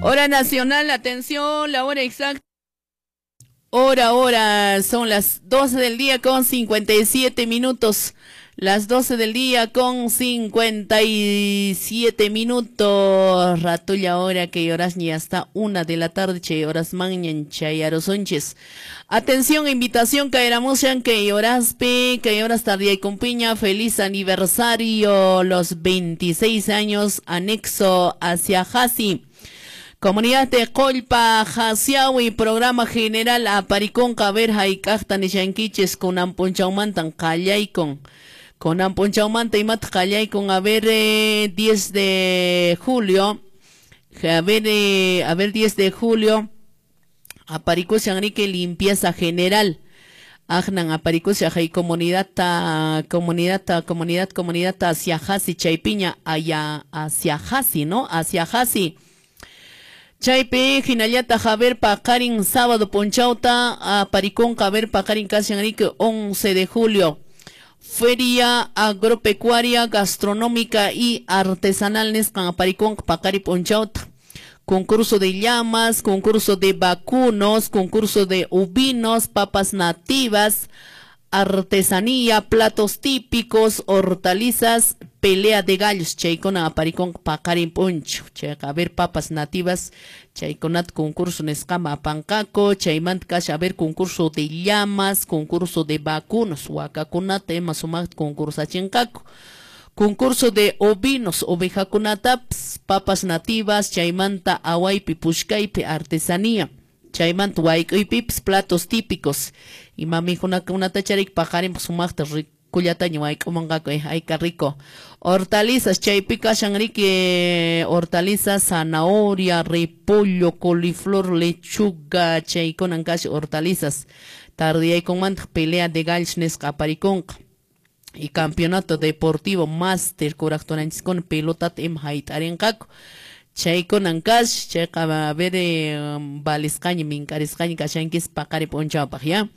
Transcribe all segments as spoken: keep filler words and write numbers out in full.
Hora nacional, atención, la hora exacta. Hora, hora, son las doce del día con cincuenta y siete minutos. Las doce del día con cincuenta y siete minutos. Ratulla hora que horas ni hasta una de la tarde, che horas mañan chayarosonches. Atención, invitación, caeramos que horas pe, que horas tardía y compiña. Feliz aniversario, los veintiséis años, anexo hacia Jasi. Comunidad de Colpa, Jasiawi, programa general Aparicón, Caber, Haikajta, Nishanquiches, Conamponchaumantan, Callaicon. Conamponchaumanta y Mat Callaicon, a ver, eh, diez de julio. A ver, eh, a ver, diez de julio. Aparicó Sanrique, limpieza general. Ajnan, Aparicó, Jai, comunidad, ta, comunidad, ta, comunidad, comunidad, hacia Jasi, Chaypiña, allá, hacia Jasi, ¿no? Hacia Jasi. Chaypi, Jinayata, Javier Pacarín, sábado Ponchauta, Aparicón, Javier Pacarín, Casi Enrique, once de julio. Feria agropecuaria, gastronómica y artesanal, Nescan, Aparicón, Pacari Ponchauta. Concurso de llamas, concurso de vacunos, concurso de ovinos, papas nativas, artesanía, platos típicos, hortalizas, pelea de gallos, chaykuna aparicón paqarin puncho, chayqa a ver papas nativas, chaykunat concurso nisqama apanqaku, chaymanta kasha a ver concurso de llamas, concurso de vacunos, wakakunata ima sumaqta concursachinqaku, concurso de ovinos, ovejakunatapas, papas nativas, chaymanta awaypi pushkaypi artesanía, chaymanta wayk'uypipas platos típicos, ima mikhunakunata charik paqarin sumaqta kullataña wayk'umanqaku, eh, ay qué rico. Hortalizas, chaypi kashan riki, hortalizas, zanahoria, repollo, coliflor, lechuga, chaykunan kashan hortalizas. Tardiyaykunmanta pelea de gallos nisqa aparikunqa. Y campeonato deportivo máster kuraqtunanchiskuna pelotata ima hayt'arinqaku. Chaykunan kash, chayqa a ver, eh, valisqaña minkarisqaña kashankis paqari p'unchawpaq, ya.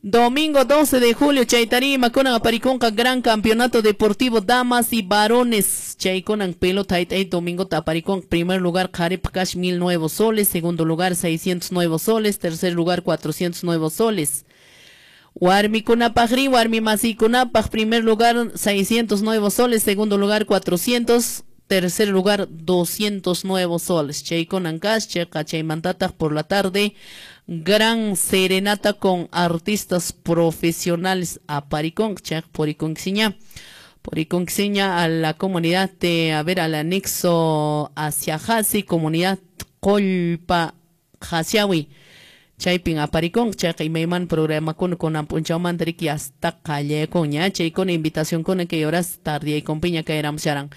Domingo doce de julio, chaytarima kunan aparikunqa gran campeonato deportivo damas y varones. Chaykunan pelota hayt'ay domingo taparikunqa. Primer lugar qharipaq kash mil nuevos soles, segundo lugar seiscientos nuevos soles, tercer lugar cuatrocientos nuevos soles. Warmikunapaqri, warmimasikunapaq, primer lugar seiscientos nuevos soles, segundo lugar cuatrocientos, tercer lugar doscientos nuevos soles. Chaykunan kash, chayqa chaymantataq por la tarde gran serenata con artistas profesionales a Paricón, chaq Poriconxiña. Poriconxiña a la comunidad de, a ver, al anexo hacia Jasi, comunidad Colpa Jasiawi. Chaypin aparicón, chaq imayman programa con con ampunchawmanta riki hasta qallaykuña, chay con invitación con que horas tarde y con piña caeramos sharan.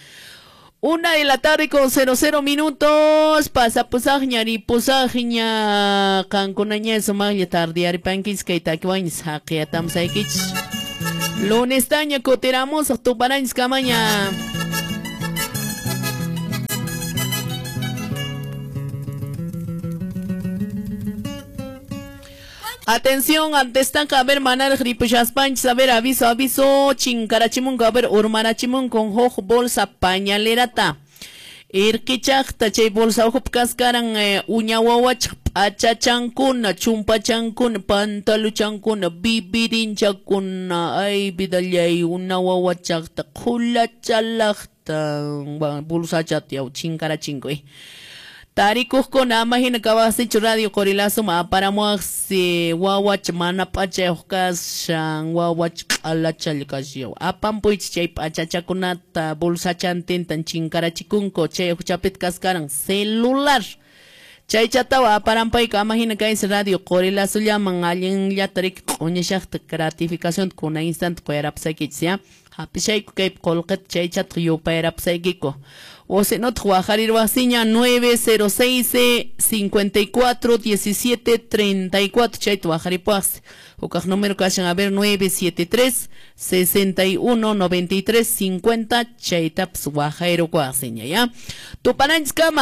Una de la tarde con cero cero minutos. Pasa pusajña, ri pusajña, kankunaña sumaqlla tardiaripankis kay takiwañis haqiyatamsaykichis. Lunes taña kutiramos tuparanchis kamaña. Atención, antes tan a ver manar gripusaspanchis, a ver aviso, aviso, chinkarachimunko, a ver urmarachimun con hoj bolsa pañalerata. Irkichaqta chay bolsa ujup kaskaran eh, uña wawachaq p'achachankuna, chumpachankuna, pantaluchankuna, bibirinchakuna, ay vidallay una wawachaqta qhulachalaqta, bolsachata yaw chinkarachinko eh. Tarikuqkuna ama hina kawaqsichu radio Qorilazo ma aparamuaqsi wawach mana p'achayuq kashan wawach q'alachalla kashan apampuychis chay p'achachakunata bolsachantintan chinkarachikunku chay huchapita kaskaran celular chaychatawa aparampayku ama hina kaysi radio Qorilazollaman allinllata riki q'uñishaqta gratificación kuna instante quyarapusaykichis ya hap'ishayku kaypi qullqita chaychata yupayarapusaykiku. O si no, waqharirwasiña nueve cero seis cincuenta y cuatro diecisiete treinta y cuatro. Chayta waqharipuwaqsi. Hukaq número kashan a ver nueve siete tres sesenta y uno noventa y tres cincuenta. Chaytapas waqhayrukuwaqsiña ya. Tupananchis kama.